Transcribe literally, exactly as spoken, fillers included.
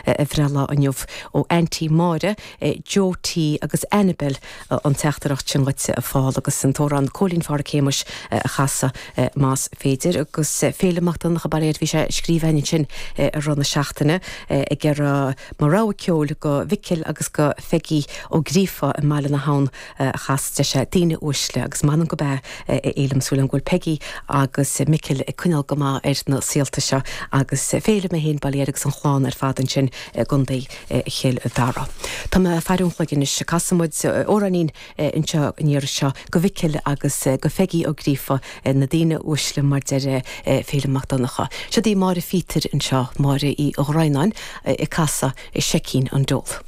a bhreithlá inniu ó Auntie Máire, Joe T agus Annabel an teachtaireacht sin dhuit a Phól agus an t-amhrán Cóilín Pháraic Shéamuis a chasadh más féidir agus Féilim Mac Donncha Bairéad bhí sé scríofa ansin i rith na seachtaine ag iarraidh mo rogha ceoil go Mhicil agus go Pheigí Ó Gríofa i mBaile na hAbhann a chas deir sé daoine uaisle agus m'anam go bea a Fhéilim súil agam go bhfuil Peigí agus Micil ag coinneáil go maith ar na saolta seo agus Féilim é féin bail air agus an chlann ar fad ansin i gContae Chill Dara. Tá mé ag faire an chloig anois casfaidh muid amhráinín anseo an iarraidh seo go Mhicil agus go Pheigí Ó Gríofa na daoine uaisle mar deir Féilim Mac Donncha. Seo í Máire Phíotair anseo Máire Uí Dhroighneáin ag casadh Seicín an Dole.